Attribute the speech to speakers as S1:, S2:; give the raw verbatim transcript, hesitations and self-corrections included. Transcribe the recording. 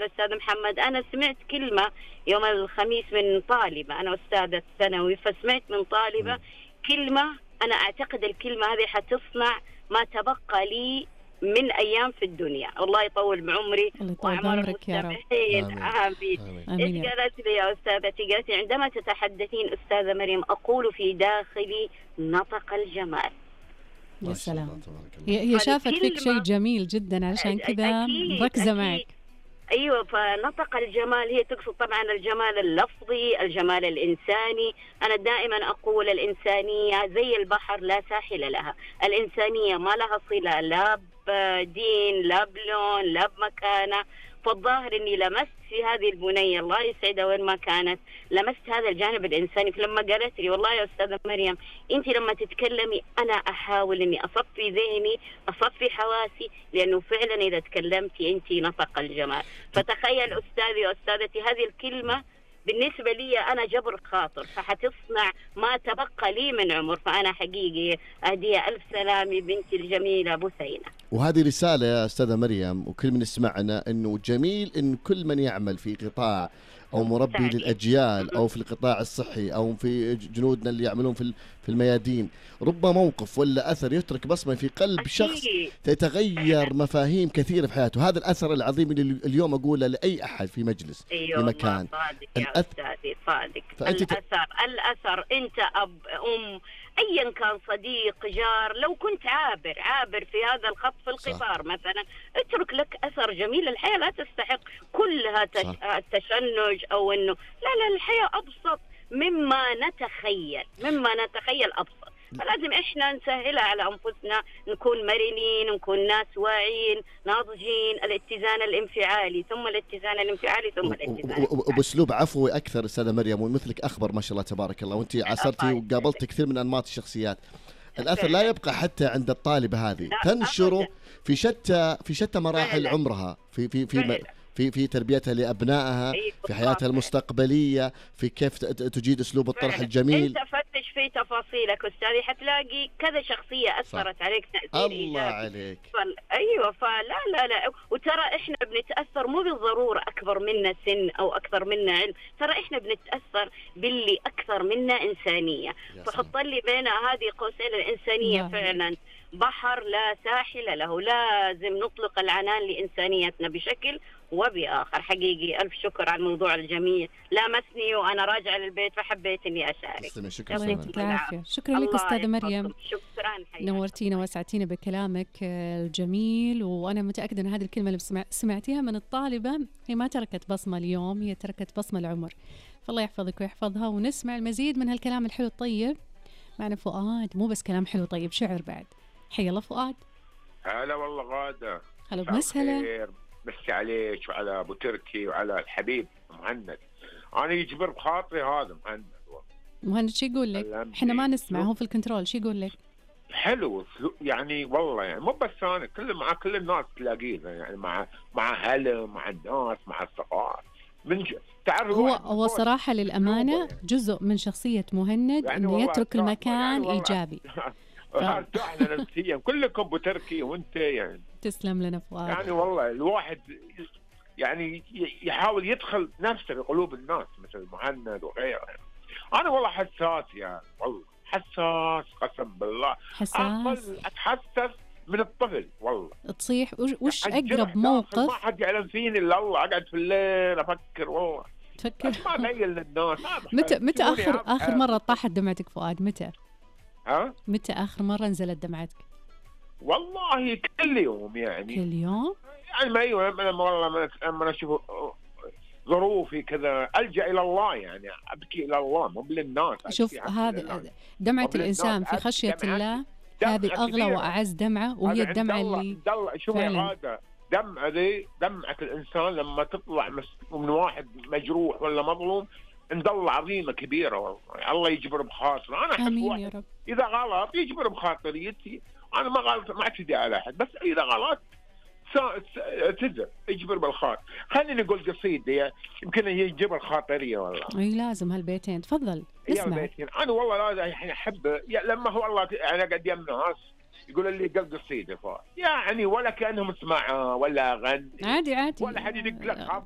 S1: الخير أستاذ محمد. أنا سمعت كلمة يوم الخميس من طالبة، أنا أستاذة ثانوي، فسمعت من طالبة كلمة أنا أعتقد الكلمة هذه حتصنع ما تبقى لي من أيام في الدنيا. الله يطول بعمري
S2: وأعمار المستمعين.
S1: آمين. إيش قالت لي يا أستاذتي؟ قالت لي عندما تتحدثين أستاذة مريم أقول في داخلي نطق الجمال.
S2: يا سلام. هي شافت فيك شيء جميل جدا علشان كذا مركزة معك.
S1: أيوة، فنطق الجمال هي تقصد طبعا الجمال اللفظي، الجمال الإنساني. أنا دائما أقول الإنسانية زي البحر لا ساحل لها، الإنسانية ما لها صلة لا بدين لا بلون لا بمكانة. فالظاهر أني لمست في هذه البنية الله يسعدها وين ما كانت، لمست هذا الجانب الإنساني. فلما قالت لي والله يا أستاذة مريم أنت لما تتكلمي أنا أحاول أني أصفي ذهني أصفي حواسي، لأنه فعلا إذا تكلمتي أنت نطق الجمال. فتخيل أستاذي وأستاذتي هذه الكلمة بالنسبة لي أنا جبر خاطر، فحتصنع ما تبقى لي من عمر. فأنا حقيقي أهديها ألف سلامي بنتي الجميلة بثينة.
S3: وهذه رسالة يا أستاذة مريم وكل من يسمعنا، أنه جميل أن كل من يعمل في قطاع أو مربي للأجيال أو في القطاع الصحي أو في جنودنا اللي يعملون في في الميادين، رب موقف ولا أثر يترك بصمة في قلب أكيد. شخص تتغير مفاهيم كثيرة في حياته. هذا الأثر العظيم اللي اليوم أقوله لأي أحد في مجلس
S1: أيوة
S3: في مكان.
S1: صادق يا الأث... أستاذي صادق. الأثر الأثر أنت أب أم أيا كان صديق جار، لو كنت عابر عابر في هذا الخط في القطار صح. مثلا اترك لك أثر جميل. الحياة لا تستحق كلها تش... التشنج أو أنه لا لا الحياة أبسط مما نتخيل مما نتخيل أبسط. فلازم إحنا نسهلها على أنفسنا، نكون مرنين، نكون ناس واعيين ناضجين. الاتزان الانفعالي ثم الاتزان الانفعالي ثم الاتزان
S3: وبأسلوب عفوي أكثر. أستاذة مريم ومثلك أخبر ما شاء الله تبارك الله، وأنت عاصرتي وقابلت كثير من أنماط الشخصيات. الأثر لا يبقى حتى عند الطالبة هذه، تنشره في شتى في شتى مراحل عمرها، في في في في في تربيتها لأبنائها، في حياتها المستقبلية، في كيف تجيد أسلوب الطرح الجميل.
S1: أنت فتش في تفاصيلك أستاذي حتلاقي كذا شخصية أثرت صح. عليك تأثير
S3: الله عليك.
S1: فل... أيوة فلا لا لا وترى إحنا بنتأثر مو بالضرورة أكبر منا سن أو أكثر منا علم، ترى إحنا بنتأثر باللي أكثر منا إنسانية. فحط لي بين هذه قوسين الإنسانية لا. فعلا بحر لا ساحل له، لازم نطلق العنان لإنسانيتنا بشكل وبآخر. حقيقي ألف شكر على الموضوع الجميل، لامسني وأنا راجعة للبيت فحبيت إني أشارك.
S3: شكرا
S2: لك شكرا لك أستاذة مريم،
S1: شكرا
S2: نورتينا وسعتينا بكلامك الجميل. وأنا متأكدة أن هذه الكلمة اللي سمعتيها من الطالبة هي ما تركت بصمة اليوم، هي تركت بصمة العمر. فالله يحفظك ويحفظها. ونسمع المزيد من هالكلام الحلو الطيب. معنا فؤاد، مو بس كلام حلو طيب، شعر بعد. حي الله فؤاد.
S4: هلا والله غادة.
S2: هلا بمسهلا.
S4: مسي عليك وعلى ابو تركي وعلى الحبيب مهند. انا يجبر بخاطري هذا مهند.
S2: مهند شو يقول لك؟ احنا ما نسمع، هو في الكنترول. شو يقول لك؟
S4: حلو يعني والله، يعني مو بس انا، كل مع كل الناس تلاقيه يعني مع مع هلا مع الناس مع الثقافه من ج... تعرف
S2: هو هو صراحه للامانه جزء من شخصيه مهند يعني انه يترك المكان يعني ايجابي.
S4: ارتحنا نفسيا كلكم ابو تركي وانت يعني.
S2: تسلم لنا فؤاد.
S4: يعني والله الواحد يعني يحاول يدخل نفسه في قلوب الناس مثل مهند وغيره. انا والله حساس يعني، والله حساس قسم بالله.
S2: حساس
S4: اتحسس من الطفل والله.
S2: تصيح وش اقرب موقف؟
S4: ما حد يعلم فيني الا الله. اقعد في الليل افكر والله.
S2: تفكر
S4: ما ابين للناس.
S2: متى متى اخر اخر مره طاحت دمعتك فؤاد؟ متى؟
S4: ها؟
S2: متى آخر مرة نزلت دمعتك؟
S4: والله كل يوم يعني.
S2: كل يوم؟
S4: يعني ما أيوة لما والله لما أشوف ظروفي كذا ألجأ إلى الله، يعني أبكي إلى الله مو للناس.
S2: شوف هذا دمعة الإنسان في خشية الله، هذه أغلى وأعز دمعة، وهي الدمعة اللي
S4: شوف هذا دمعة ذي دمعة الإنسان لما تطلع من واحد مجروح ولا مظلوم، عند الله عظيمة كبيرة والله. الله يجبر بخاطر. أنا أحب واحد إذا غلط يجبر بخاطريتي. أنا ما غلط ما أعتدي على أحد، بس إذا غلط تزر يجبر بالخاطر. خليني نقول قصيدة يمكن يجبر خاطرية والله.
S2: أي لازم هالبيتين. تفضل نسمع.
S4: أنا والله لازم يعني أحب لما هو والله أنا قد يم ناس يقول لي قل قصيدة فا يعني ولا كأنهم اسمع ولا غني
S2: عادي عادي
S4: ولا حد يدق لك خبر.